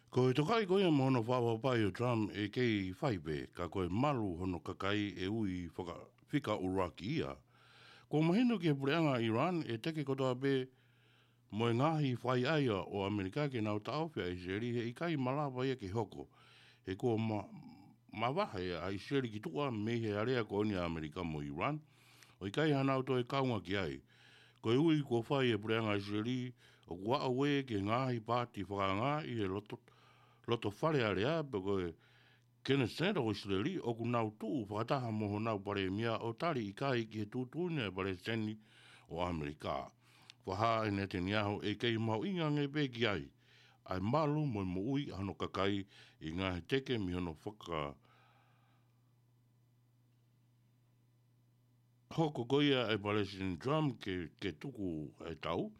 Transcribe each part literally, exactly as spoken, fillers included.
Ko e tokaʻi ko ia mo hono fakaʻapaʻapaʻi ʻo Trump ʻe kei fai pē, ka ko e malu hono kakai ʻe ui faka-, fika ʻuluaki ia. Kuo mahino ki he puleʻanga ʻa ʻIulan ʻa e teke kotoa pē mo e ngaahi fakaʻaiʻai ʻo ʻAmelika ke nau taʻofi ʻa ʻIsileli he ʻikai malava ia ke hoko. He kuo ma-, mavahe ʻa ʻIsileli ki tuʻa mei he alea ko eni ʻa ʻAmelika mo ʻIulan, ʻo ʻikai haʻanau toe kaunga ki ai. Ko e ui kuo fai ʻe he puleʻanga ʻIsileli ʻoku aʻu ē ki he ngaahi paati fakaanga ʻi he loto, loto Fale Alea pe ko e Keneseti ʻo ʻIsileli ʻoku nau tuʻu fakataha mo honau palēmia ʻo tali ʻikai ki he tuʻutuʻuni ʻa e palesiteni ʻo ʻAmelika. Fakahā ʻe Netanyahu ʻe kei mahuʻinga ange pē ki ai ʻa e malu mo e moʻui ʻa hono kakai ʻi he ngaahi teke mei hono faka- hoko ko ia ʻa e Palesiteni Trump ke, ke tuku ʻa e tau,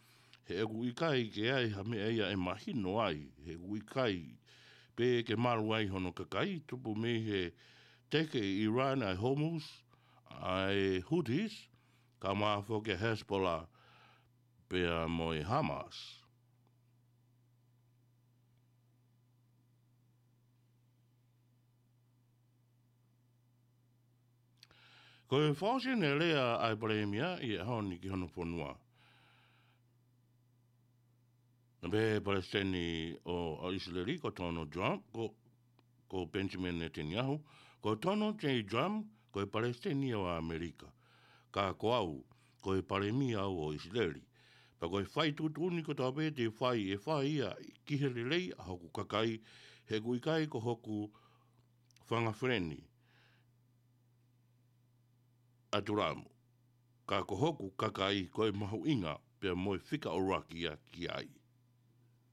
he ʻoku ʻikai ke ʻi ai ha meʻa ia ʻe mahino ai, he ʻoku ʻikai pē ke malu ai hono kakai, tupu mei he teke ʻe ʻIulan ʻa e Hormuz, ʻa e Houthis, kae ʻumaʻā foki ʻa e Hezbollah, pea mo e Hamas. Ko e fakaʻosi ʻeni e lea ʻa e palēmia ʻi he ʻaho ni ki hono fonua. Naʻe pehē ʻe he palesiteni ʻo, ʻo ʻIsileli ko Donald Trump, ko, ko Benjamin Netanyahu, ko Donald J Trump, ko e palesiteni ʻo ʻAmelika. Ka ko au, ko e palēmia au ʻo ʻIsileli. Pea ko e fai tuʻutuʻuni kotoa pē te u fai ʻe fai ia ki he lelei ʻa hoku kakai, he ʻoku ʻikai ko hoku fanga feleni ʻa Tulamu. Ka ko hoku kakai ko e mahuʻinga pea mo e fika ʻuluaki ia ki ai.